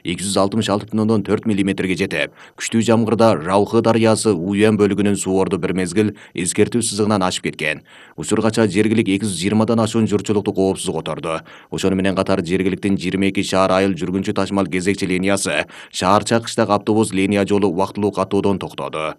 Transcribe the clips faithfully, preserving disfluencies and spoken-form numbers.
эки жүз алтымыш алты бүтүн ондон төрт миллиметрге жетип, күчтүү жамгырда Ралхы дарыясы Уюян бөлүгүнүн суу орду бир мезгил эскертүү сызыгынан ашып кеткен. Учургача жергилик эки жүз жыйырмадан ашуун журтчулукту коопсуз которду. Ошону менен катар жергиликтин жыйырма эки шаар айыл жүргүнчү ташмал кезекчи линиясы шаарча кыштак автобус линия жолу убактылуу каттоодон токтоду.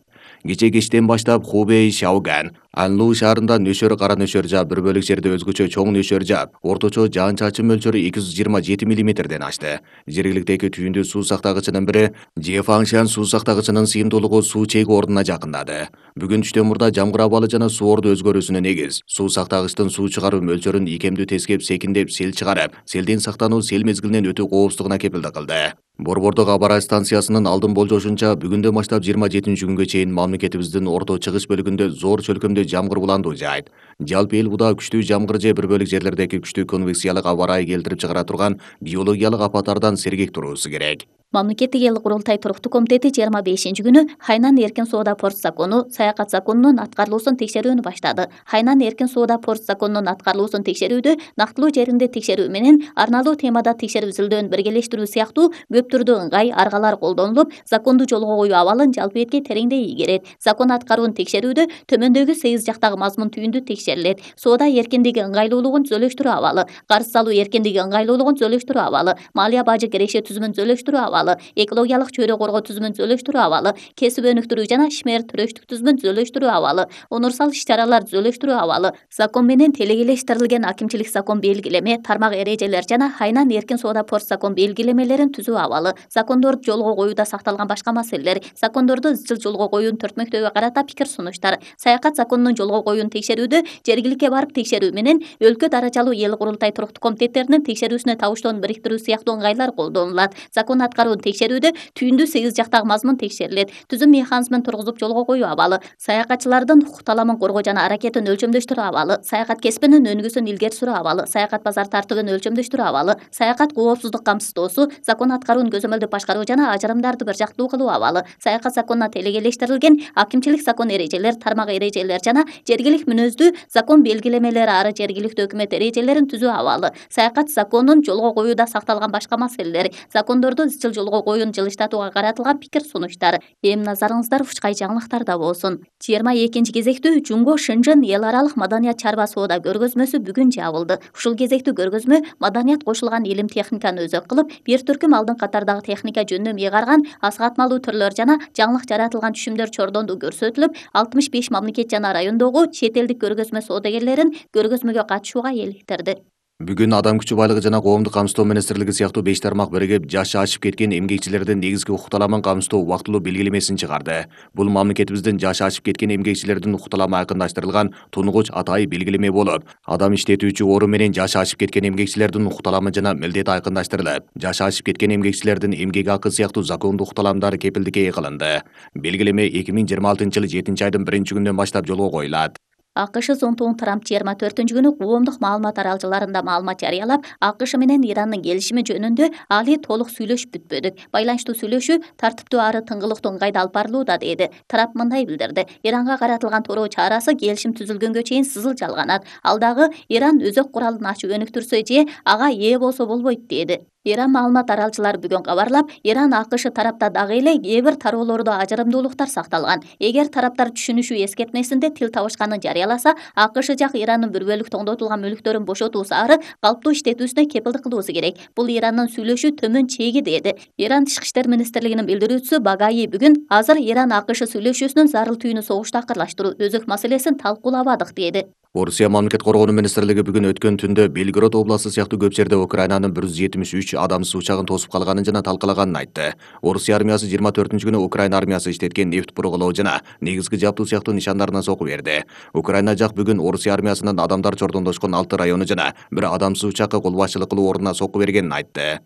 Кече кечтен баштап Хубей, Шаоган, Анлу шаарында нөшөр кара нөшөр жаап, бир бөлүк жерде өзгөчө чоң нөшөр жаап, орточо жаан-чачын мөлчөрү эки жүз жыйырма жети миллиметрден ашты. Жергиликтеги түйүндүү суу сактагычынын бири Жефаңшан суу сактагычынын сыйымдуулугу суу чеги ордуна жакындады. Бүгүн түштөн мурда жамгыр абалы жана суу орду өзгөрүүсүнө негиз суу сактагычтын суу чыгаруу мөлчөрүн икемдүү тескеп, секиндеп сел чыгарып, селден сактануу сел мезгилинен өтүү коопсуздугуна кепилдик кылды. Борбордук Абарай станциясынын алдын болжошунча бүгүндөн баштап жыйырма жетинчи күнгө чейин мамлекетибиздин орто чыгыш бөлүгүндө зор чөлкөмдүү жамгыр буландуу жаайт. Жалпы эл буда күчтүү жамгыр же бир бөлүк жерлердеги күчтүү конвекциялык аба ырайы келтирип чыгара турган биологиялык апаттардан сергек туруусу керек. Мамлекеттик эл курултай туруктуу комитети жыйырма бешинчи күнү Хайнан эркин соода порт закону, саякат законунун аткарылуусун текшерүүнү баштады. Хайнан эркин соода порт законунун аткарылуусун текшерүүдө нактылуу жеринде текшерүү менен арналуу темада текшерүү изилдөөнү биргелештирүү сыяктуу көп түрдүү ыңгай аргалар колдонулуп, законду жолго коюу абалын жалпы этке тереңдей ийгерет. Закон аткаруун текшерүүдө төмөндөгү сегиз жактагы мазмун түйүндү текшерилет. Соода эркиндиги ыңгайлуулугун түзөлүштүрүү абалы, карыз салуу эркиндиги ыңгайлуулугун түзөлүштүрүү абалы, малия бажы киреше түзүмүн түзөлүштүрүү абалы, экологиялык чөйрө коргоо түзүмүн түзөлүштүрүү абалы, кесип өнүктүрүү жана ишмер төрөштүк түзүмүн түзөлүштүрүү абалы, онурсал иш-чаралар түзөлүштүрүү абалы, закон менен телегелештирилген акимчилик закон белгилеме, тармак эрежелер жана Хайнан эркин соода порт закон белгилемелерин түзүү абалы, закондорду жолго коюуда сакталган башка маселелер, закондорду изчил жолго коюунун төртмөктөөгө карата пикир сунуштар, саякат законунун жолго коюун текшерүүдө жергиликке барып текшерүү менен өлкө даражалуу эл курултай туруктуу комитеттеринин текшерүүсүнө табыштоону бириктирүү сыяктуу ыңгайлар колдонулат. Закон аткаруу текшерүүдө түйүндүү сегиз жактагы мазмун текшерилет. Түзүм механизмин тургузуп жолго коюу абалы, саякатчылардын укук таламын коргоо жана аракетин өлчөмдөштүрүү абалы, саякат кесибинин өнүгүүсүн илгери суруу абалы, саякат базар тартыбын өлчөмдөштүрүү абалы, саякат коопсуздук камсыздоосу, закон аткаруун көзөмөлдөп башкаруу жана ажырымдарды бир жактуу кылуу абалы, саякат законуна телегелештирилген акимчилик закон эрежелер, тармак эрежелер жана жергилик мүнөздүү закон белгилемелери ары жергиликтүү өкмөт эрежелерин түзүү абалы, саякат законун жолго коюуда сакталган башка маселелер, закондорду изчил жолго коюуну жылыштатууга каратылган пикир сунуштар. Эми назарыңыздар учкай жаңылыктарда болсун. жыйырма экинчи кезектүү Жумго Шынжын эл аралык маданият чарба соода көргөзмөсү бүгүн жабылды. Ушул кезектүү көргөзмө маданият кошулган илим техниканы өзөк кылып, бир түркүм алдын катардагы техника жөнүнө мыйгарган асыгатмалуу түрлөр жана жаңылык жаратылган түшүмдөр чордондуу көрсөтүлүп, алтымыш беш мамлекет жана райондогу чет элдик көргөзмө соодагерлерин көргөзмөгө катышууга эликтирди. Бүгүн Адам күчү байлыгы жана коомдук камсыздоо министрлиги сыяктуу беш тармак биригип жашы ашып кеткен эмгекчилердин негизги укук таламын камсыздоо убактылуу белгилемесин чыгарды. Бул мамлекетибиздин жашы ашып кеткен эмгекчилердин укук таламы айкындаштырылган тунугуч атайы белгилеме болуп, адам иштетүүчү орун менен жашы ашып кеткен эмгекчилердин укук таламы жана милдети айкындаштырылып, жашы ашып кеткен эмгекчилердин эмгек акы сыяктуу закондуу укук таламдары кепилдикке кылынды. Белгилеме эки миң жыйырма алтынчы жылы жетинчи айдын биринчи күнүнөн баштап жолго коюлат. АКШ зонтугун Трамп жыйырма төртүнчү күнү коомдук маалымат аралжаларында маалымат жарыялап, АКШ менен Ирандын келишими жөнүндө али толук сүйлөшүп бүтпөдүк. Байланыштуу сүйлөшүү тартиптүү ары тыңгылыктуу ыңгайда алып барылууда деди. Трамп мындай билдирди: Иранга каратылган тороо чарасы келишим түзүлгөнгө чейин сызыл жалганат. Ал дагы Иран өзөк куралын ачып өнүктүрсө же ага ээ болсо болбойт деди. Иран маалымат аралчылары бүгүн кабарлап, Иран АКШ тарапта дагы эле кээ бир тароолордо ажырымдуулуктар сакталган. Эгер тараптар түшүнүшүү эскертмесинде тил табышканын жарыяласа, АКШ жак Ирандын бир бөлүк тоңдотулган мүлктөрүн бошотуусу ары калыптуу иштетүүсүнө кепилдик кылуусу керек. Бул Ирандын сүйлөшүү төмөн чеги деди. Иран Тышкы иштер министрлигинин билдирүүчүсү Багаи бүгүн азыр Иран АКШ сүйлөшүүсүнүн зарыл түйүнү согушту акырлаштыруу, өзөк маселесин талкуулабадык деди. Орусия мамлекет коргоонуу министрлиги бүгүн өткөн түндө Белгород областы сыяктуу көп жерде Украинанын бир жүз жетимиш үч адамсыз учагын тосуп калганын жана талкалаганын айтты. Орусия армиясы жыйырма төртүнчү күнү Украина армиясы иштеткен нефть бургалоо жана негизги жабдуу сыяктуу нишандарына сокку берди. Украина жак бүгүн Орусия армиясынын адамдар чордондошкон алты району жана бир адамсыз учакка кол башчылык кылуу ордуна сокку бергенин айтты.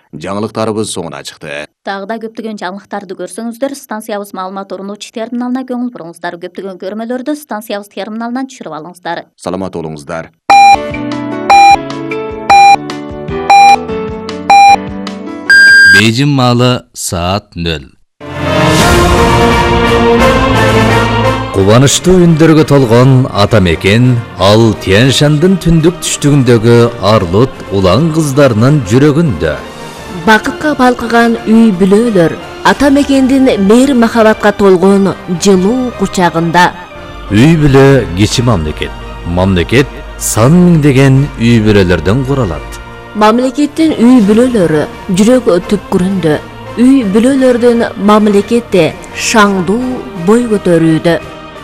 Жаңылыктарыбыз соңуна чыкты. Дагы да көптөгөн жаңылыктарды көрсөңүздөр, станциябыз маалымат орнотуучу терминалына көңүл буруңуздар. Көптөгөн көрмөлөрдү станциябыз терминалынан түшүрүп алыңыздар. Саламат болуңуздар. Бейжин маалы саат нөл. Кубанычтуу үндөргө толгон ата мекен ал Тянь-Шандын түндүк түштүгүндөгү Арлут улан кыздарынын жүрөгүндө. бакытка балкыган үй бүлөлөр ата мекендин мээр махабатка толгон жылуу кучагында. Үй бүлө кичи мамлекет. Мамлекет сан миңдеген үй бүлөлөрдөн куралат. Мамлекеттин үй бүлөлөрү жүрөк түпкүрүндө. Үй бүлөлөрдүн мамлекетте шаңдуу бой көтөрүүдө.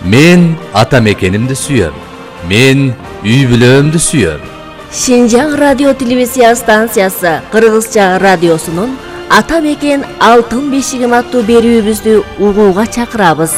Мен ата мекенимди сүйөм. Мен үй бүлөмдү сүйөм. Шинжаң радио телевизия станциясы Кыргызча радиосунун Ата мекен алтын бешигим аттуу берүүбүздү угууга чакырабыз.